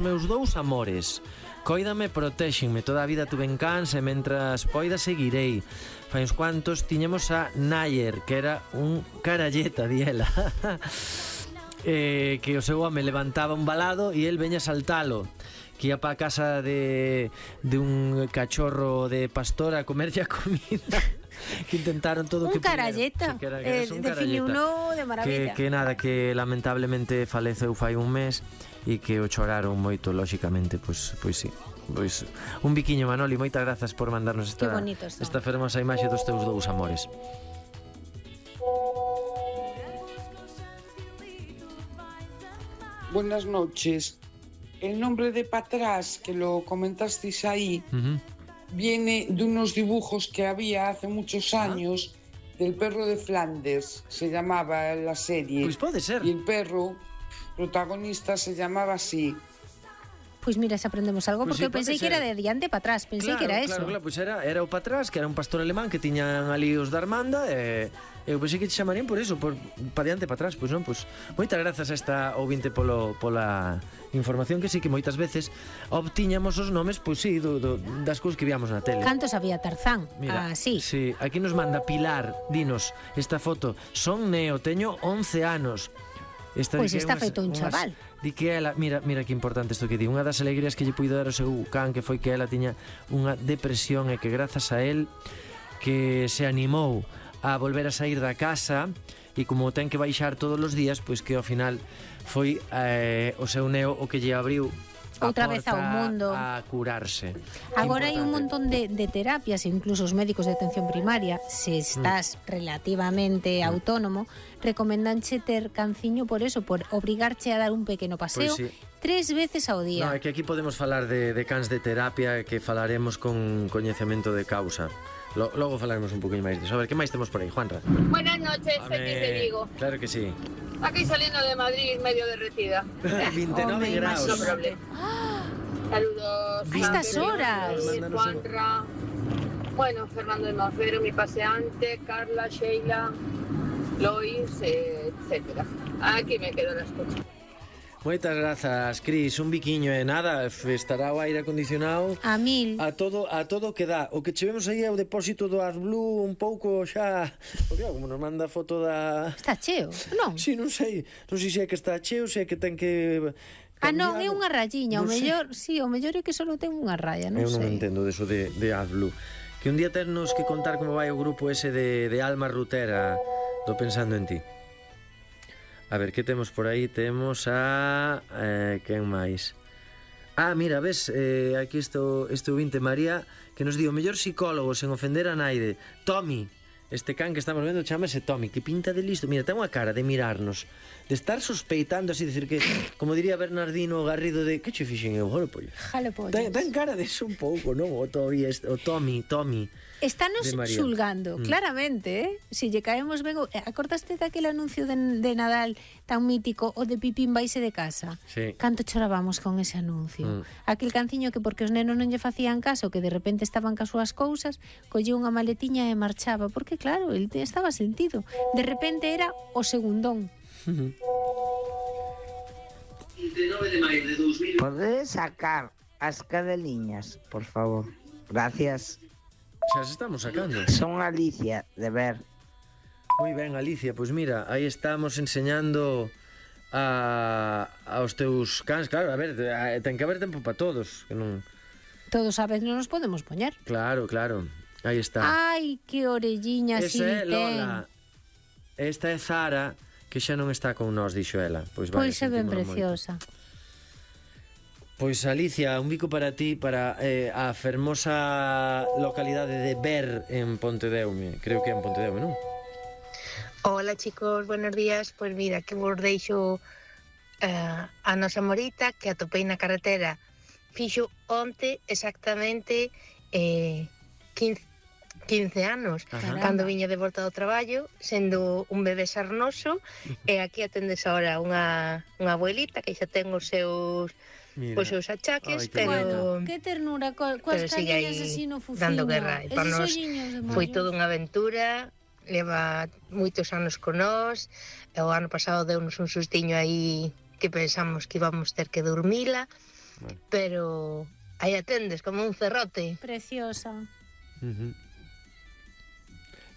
Meus dous amores, cóidame, protéxenme, toda a vida tuve en cans e mentras poida seguirei. Fai uns cuantos tiñemos a Nayer, que era un caralleta, diela. Que o seu home levantaba un balado e el veña a saltalo, que ia pa casa de un cachorro de pastora a comerlle a comida. Que intentaron todo un que caralleta, definiuno de maravilla. Que nada, que lamentablemente faleceu fai un mes e que o choraron moito, lóxicamente, pois sí. Pois un biquiño, Manoli, moitas grazas por mandarnos esta fermosa imaxe dos teus dous amores. Buenas noches. El nombre de Patrás, que lo comentasteis ahí, viene de unos dibujos que había hace muchos años del perro de Flandes, se llamaba la serie. Pues puede ser. Y el perro protagonista se llamaba así. Pois mira, se aprendemos algo, porque eu pensei que era de diante para atrás, pensei que era eso. Claro, pois era o para atrás, que era un pastor alemán que tiñan ali os da Armanda, e eu pensei que te chamarían por eso, para diante para atrás, pois non, pois moitas grazas a esta ouvinte pola información, que sí que moitas veces obtiñamos os nomes, pois sí, das cousas que víamos na tele. Cantos había Tarzán? Mira, sí. Sí, aquí nos manda Pilar, dinos esta foto, son neo, teño 11 anos. Pois está feito un chaval. Di que ela, mira que importante isto que di, unha das alegrías que lle puido dar o seu can, que foi que ela tiña unha depresión e que grazas a él que se animou a volver a sair da casa e como ten que baixar todos os días, pois que ao final foi o seu neo o que lle abriu outra vez ao mundo a curarse. Agora hai un montón de terapias, incluso os médicos de atención primaria, se estás relativamente autónomo, recomendanche ter canciño por eso, por obrigarche a dar un pequeno paseo, pues sí, 3 veces ao día. No, é que aquí podemos falar de cans de terapia, que falaremos con coñecemento de causa. Logo falaremos un poquinho máis disso. A ver, que máis temos por aí, Juanra? Buenas noches, Feliz de Vigo. Claro que sí. Aquí saliendo de Madrid, medio derretida. 29 grados. No problema. Saludos. A estas horas. Juanra. Bueno, Fernando de Mafero, mi paseante, Carla, Sheila, Lois, etcétera. Aquí me quedo la escucha. Moitas grazas, Cris, un biquiño e nada, estará o aire acondicionado a mil. A todo que dá. O que chevemos aí é o depósito do AdBlue un pouco xa, porque como nos manda foto da... Está cheo, non? Si, non sei se é que está cheo, se é que ten que... Non, é unha rayiña, o mellor, sí, o mellor é que só ten unha raya, non sei. Eu non entendo deso de AdBlue. Que un día ternos que contar como vai o grupo ese de Alma Rutera do Pensando en Ti. A ver, que temos por aí? Temos a... quen máis? Mira, ves, aquí este ouvinte María, que nos di o mellor psicólogo sen ofender a naide, Tommy. Este can que estamos vendo chamase Tommy, que pinta de listo. Mira, ten unha cara de mirarnos, de estar sospeitando así, decir que, como diría Bernardino Garrido, de que che fixen eu, jalo pollo. Ten cara de eso un pouco, non? O Tommy. Estános xulgando, claramente, Si lle caemos ben... Acordaste daquele anuncio de Nadal tan mítico, o de Pipín vaise de casa? Sí. Canto chorábamos con ese anuncio. Aquel canciño que porque os nenos non lle facían caso, que de repente estaban cas súas cousas, colleu unha maletiña e marchaba, porque claro, el estaba sentido. De repente era o segundón. Podes sacar as cadeliñas, por favor. Gracias. Xa se estamos sacando. Son Alicia, de ver. Moi ben, Alicia, pois mira, aí estamos enseñando aos teus cans. Claro, a ver, ten que haber tempo para todos, que non... Todos a vez non nos podemos poñer. Claro, aí está. Ai, que orelliña si ten. Esa é Lola. Esta é Zara, que xa non está con nós, dixo ela. Pois é ben preciosa. Pois Alicia, un bico para ti, para a fermosa localidade de Ver en Pontedeume. Creo que é en Pontedeume, non? Hola chicos, buenos días. Pois mira, que vos deixo a nosa Morita, que atopei na carretera. Fixo onte exactamente 15 anos, cando viña de volta do traballo, sendo un bebé sarnoso, e aquí atendes agora unha abuelita que xa ten os seus... Pois os achaques, pero... Que ternura, coas caniñas así no fuciño. Dando guerra, e para nós foi toda unha aventura, leva moitos anos con nós, e o ano pasado deunos un sustiño aí que pensamos que íbamos ter que dormila, pero aí atendes como un cerrote. Preciosa.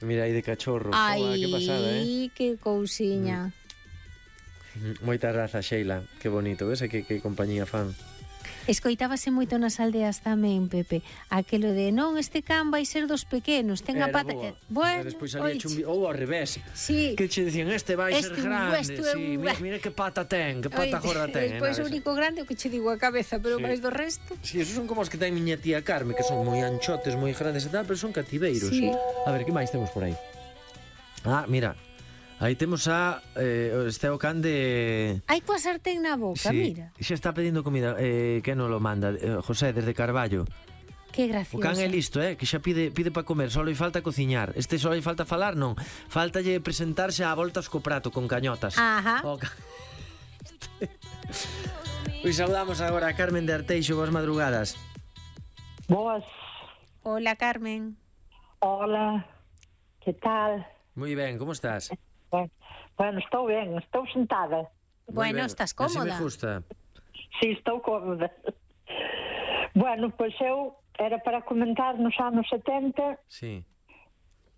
Mira aí de cachorro. Ai, que pasada, que cousiña. Moita raza, Sheila. Que bonito, ves? Que compañía fan. Escoitábase moito nas aldeas tamén, Pepe, aquelo de non, este can vai ser dos pequenos, ten a pata... Bueno, despois salía ou ao revés. Sí. Que che dicían, este vai ser grande. Sí, mira que pata ten, que pata gorda ten. Despois o único grande o que che digo a cabeza, pero máis do resto... Sí, esos son como os que ten miña tía Carme, que son moi anchotes, moi grandes e tal, pero son cativeiros. Sí. A ver, que máis temos por aí? Ah, mira... Aí temos este o can de... Hai coa sartén na boca, sí, mira. Xa está pedindo comida. Que non lo manda? José, desde Carballo. Que gracioso. O can é listo, que xa pide para comer. Só lle falta cociñar. Este só lle falta falar, non. Faltalle presentarse a voltas co prato, con cañotas. Ajá. Pois saudamos agora a Carmen de Arteixo. Boas madrugadas. Boas. Hola, Carmen. Hola. Que tal? Moi ben, como estás? Bueno, estou ben, estou sentada. Bueno, estás cómoda. Así me gusta. Sí, estou cómoda. Bueno, pois eu era para comentar nos anos 70. Sí.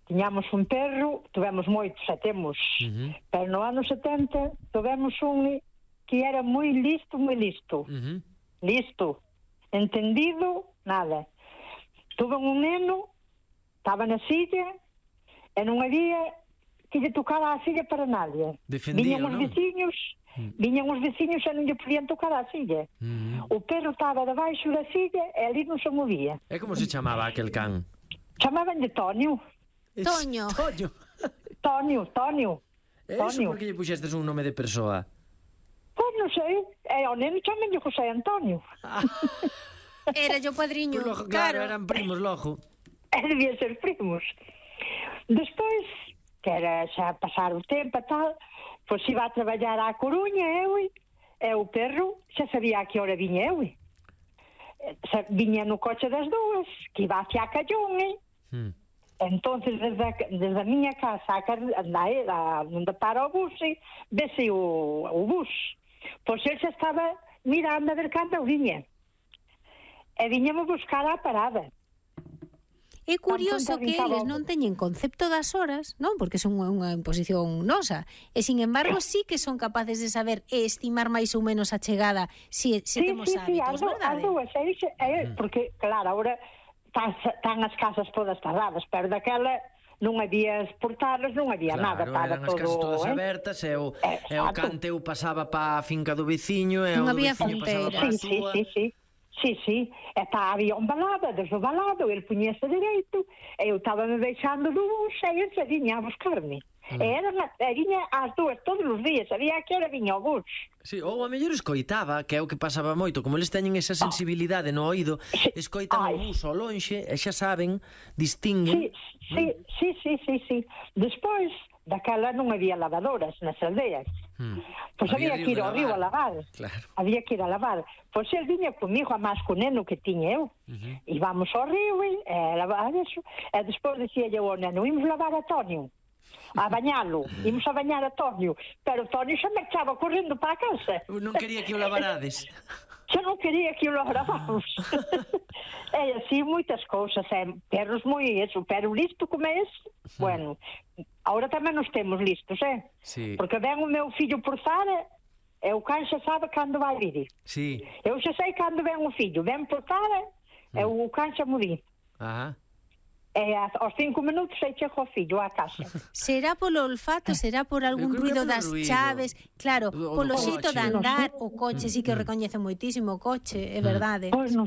Tiñamos un perro, tivemos moitos, e temos. Pero no ano 70 tivemos un que era moi listo, moi listo. Listo. Entendido, nada. Tuve un neno, estaba na silla, e non había que lle tocara a silla para nadie. Viñan os veciños e non lle podían tocar a silla. O perro estaba debaixo da silla e ali non se movía. E como se chamaba aquel can? Chamaban de Toño. Toño. Toño. Eso por que lle puxestes un nome de persoa? Pois non sei, ao neno chamenlle José Antonio. Era yo padriño. Pues claro, eran primos logo. Debían ser primos. Despois, que era xa pasar o tempo e tal, pois iba a traballar á Coruña, e o perro xa sabía a que hora viña eu. Viña no coche das dúas, que iba hacia Callón, entonces desde a miña casa onde para o bus, vese o bus. Pois ele xa estaba mirando a ver cando viña. E viñamos buscar a parada. É curioso que eles non teñen concepto das horas, non? Porque son unha imposición nosa. E, sin embargo, sí que son capaces de saber e estimar máis ou menos a chegada se temos hábitos, verdade? Porque, claro, agora están as casas todas cerradas, pero daquela non había portadas, non había nada. Claro, eran as casas todas abertas e o canteu pasaba pa a finca do veciño e o do veciño pasaba pa a súa. Sí, había un balado, desde o balado, ele puñese dereito, e eu estaba me deixando do bus, e ele se viña a buscarme. E viña ás dúas todos os días, sabía que era viña ao bus. Sí, ou a mellor escoitaba, que é o que pasaba moito, como eles teñen esa sensibilidade no oído, escoitan o bus ao lonxe, e xa saben, distinguen. Sí. Despois, daquela non había lavadoras nas aldeas. Pois había que ir ao río a lavar. Pois ele viña comigo a máis co neno que tiña eu. Íbamos ao río e lavar eso. E despois dicía eu ao neno, imos lavar a Tonio, a bañalo, imos a bañar a Tonio. Pero Tonio xa marchaba correndo para a casa. Non quería que o lavarades. Xa non quería que o laváramos. E así moitas cousas, perros moi eso, pero listo como é ese. Bueno, agora tamén nos temos listos, Sí. Porque ven o meu fillo por fora e o can xa sabe cando vai vir. Sí. Eu xa sei cando ven o fillo, ven por fora e o can xa mo di. E aos 5 minutos aí chego o fillo á casa. Será polo olfato, será por algún ruido das chaves. Claro, polo xeito de andar, o coche sí que recoñece moitísimo o coche, é verdade. Pois non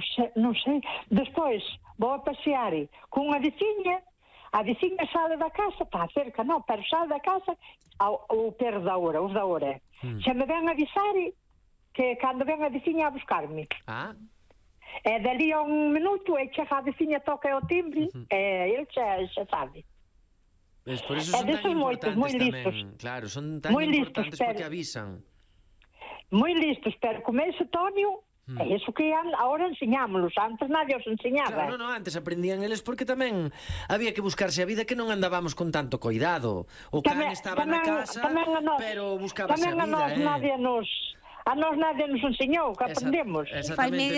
sei. Despois vou a pasear cunha veciña. A veciña sale da casa, está cerca, non, pero sale da casa o perro da hora, os da hora. Xa me ven avisar que cando ven a veciña a buscarme. E dali a un minuto e chega a veciña, toca o timbre e ele xa sabe. Por eso son tan importantes tamén. Claro, son tan importantes porque avisan. Moi listos, pero como ese Tonio, é iso que agora enseñámonos, antes nadie os enseñaba. Claro, non, antes aprendían eles porque tamén había que buscarse a vida, que non andábamos con tanto cuidado. O can estaba na casa, pero buscábase a vida. Tamén a nós nadie A nós nadie nos enseñou, que aprendemos. Exactamente.